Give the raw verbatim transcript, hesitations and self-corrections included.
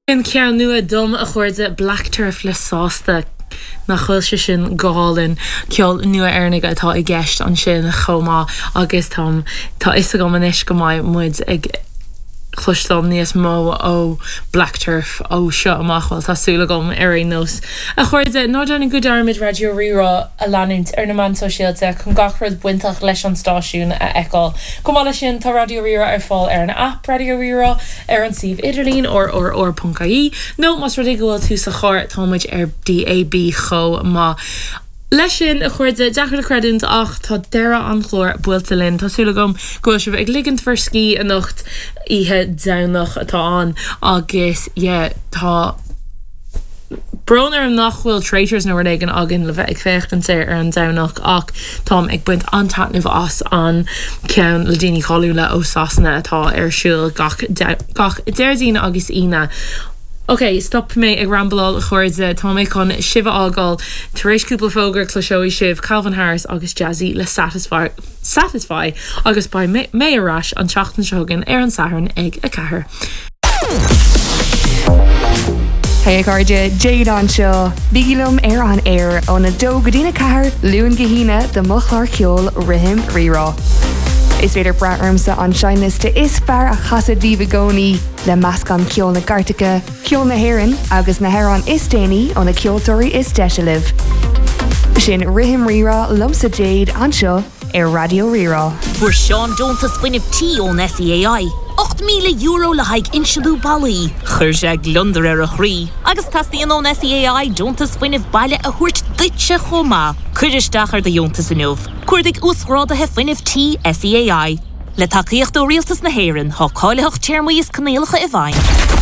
An ceann nua dom a chairde Black Turf le sásta nach bhfuil sé sin go hálainn ceol nua Éireannach atá i gceist ansin chomh maith agus tá tá fhios agam anois go mbeidh muid ag cloisteáil níos mó ó Black Turf ó seo amach well tá súil agam ar aon nós. A chairde ná déanaigí dearmad Raidió Rí-Rá a leanúint ar na meáin sóisialta chun gach rud bainteach leis an stáisiún a fheiceáil. Chomh maith leis sin tá Raidió Rí-Rá ar fáil ar an app Raidió Rí-Rá ar an suíomh idirlín rrr.ie nó más rud é go bhfuil tú sa charr táimid ar DAB chomh maith. Leis sin a chairde deacair le creidiúint ach tá deireadh an chláir buailte linn Tá súil agam go bhfuil sibh ag ligint bhur scíth anocht oíche Domhnach atá ann agus yeah, tá Brón orm nach bhfuil Traitors nó rud éigin againn le bheith ag féachaint ar ar an Domhnach ach táim ag baint an-taitneamh as an ceann le daoine cáiliúla ó Sasana atá ar siúl gach gach Déardaoin agus Aoine. Ok, stop mé ag rambláil a chairde tá mé chun sibh a fhágáil tar éis cúpla fógra cloisfidh sibh Calvin Harris agus Jazzy le satisfy satisfy agus beidh mé ar ais an tseachtain seo chugainn ar an Satharn ag a ceathair. Hey cairde Jade anseo, Bígí liom ar an aer óna dó go dtína ceathair Luan go hAoine do mo chlár ceoil Rithim Rírá. Is féidir brath ormsa an seinnliosta is fearr a chasadh daoibh i gcónaí le meascán ceol na gcairteacha, ceol na hÉireann agus na hamhráin is déanaí ó na ceoltóirí is deise libh. Sin Rithim Rírá liomsa Jade anseo ar Raidió Rí-Rá. Fuair Seán deontas fuinnimh tí ón SEAI. Ocht míle euro le haghaidh inslithe ballaí, Chuir sé gliondar ar a chroí, agus teastaíonn ón SEAI deontas fuinnimh baile a thabhairt duitse chomh maith. Cuir isteach ar do dheontas inniu. Cuardaigh uasghráduithe fuinnimh tí SEAI. Le tacaíocht ó Rialtas na hÉireann tá cáilitheacht téarmaí is coinníollacha i bhfeidhm.